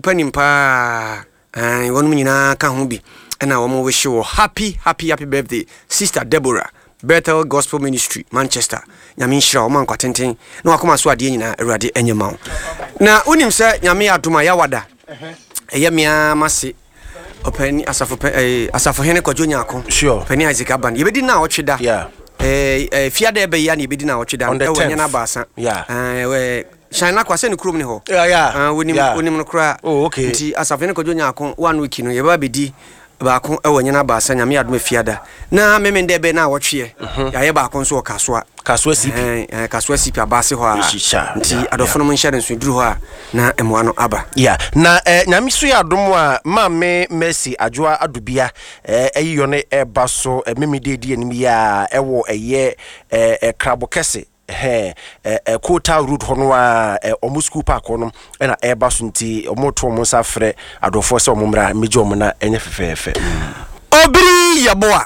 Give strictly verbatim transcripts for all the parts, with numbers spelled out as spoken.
Panin paa, ɛn, wɔnom nyinaa ka ho bi ɛna wɔn wish wɔ happy, happy, happy birthday, Sister Deborah, Bethel Gospel Ministry, Manchester. Nyame nhyira wɔn ankwa tenten na wakoma so adeɛ nyinaa Awurade ɛnyɛ ma wo. Na wonim sɛ Nyame yɛ adom a, yɛawada ɛyɛ mmea mase ɔpɛni asafo pɛ ɛɛ asafohene Kwadwo Nyako. Sure. Ɔpɛni Isaac Aban, yɛbɛdi na ɔtwe da. Yeah. ɛɛ ɛɛ fiada ɛbɛyi a na yɛbɛdi na ɔtwe da. On the ɛwɔ tenth. Nyɛ n'abaasa. Yeah. ɛɛ ɛɛ Hyɛn nakɔ asɛ ne kurom ne hɔ. Yeah, yeah. Ah, wonim. Yeah. Wonim no koraa. Oh, okay. Nti asafohene Kwadwo Nyako, one week no yɛbɛba bɛdi baako ɛwɔ nyɛ n'abaasa, Nyame adom, fiada na meme ndɛ bɛ na awɔtweɛ yɛayɛ baako nso wɔ Kasoa. Kasoa C P. Ɛn, ɛn, Kasoa C P abaase hɔ a. Hyehyɛ, nti yeah, adɔfo no mo nhyɛ no nso duru hɔ a na mmoa no aba. Yeah. Na eh, Nyame so yɛ adom a, Maame Mercy Adwoa Adobia eh, ɛyi yɔ no ɛba so eh, meme de di anim yi a ɛwɔ ɛyɛ eh, eh, Krabo Kɛse ɛhɛn eh, eh, Kota Road hɔ no a eh, ɔmo school park hɔ no ɛna ɛba so, nti ɔmo to ɔmo nsa frɛ adɔfoɔ sɛ ɔmo mmra mmɛgye ɔmo na ɛnyɛ fɛfɛɛfɛ mm. Obiri yɛboa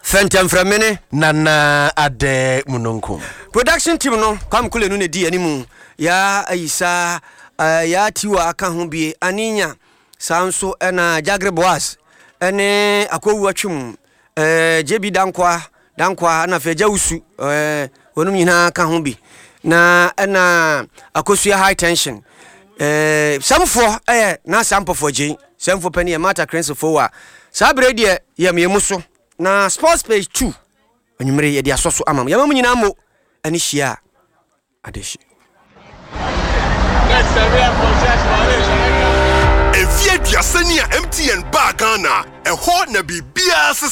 fɛntɛmfrɛmene. Nana Adɛ Munonkum. Production team no, Kwame Kule no na di animu, yaa Ayisa, uh, yaa Tiwa aka ho bie aninya saa nso, ɛna Jagre Boas ɛne Akɔwu Atwem, uh, J B Dankoa Dankoa, ɛna afei Agya Wusu, uh, wɔnom nyinaa ka ho bi na ɛna Akosua High Tension, uh, sɛmfoɔ ɛyɛ nasa mpɔfoɔ gyei sɛmfoɔ pani yɛ Martha Crensefoɔ a saa berɛ deɛ yɛ mmiɛmu so na Sports Page two anwummere yɛde asɔ so ama mo. Yɛma mo nyinaa mo ɛne hyia a adehye. Mfeɛ aduasa ni a M T N baa Ghana, ɛhɔ na biribiara sesa.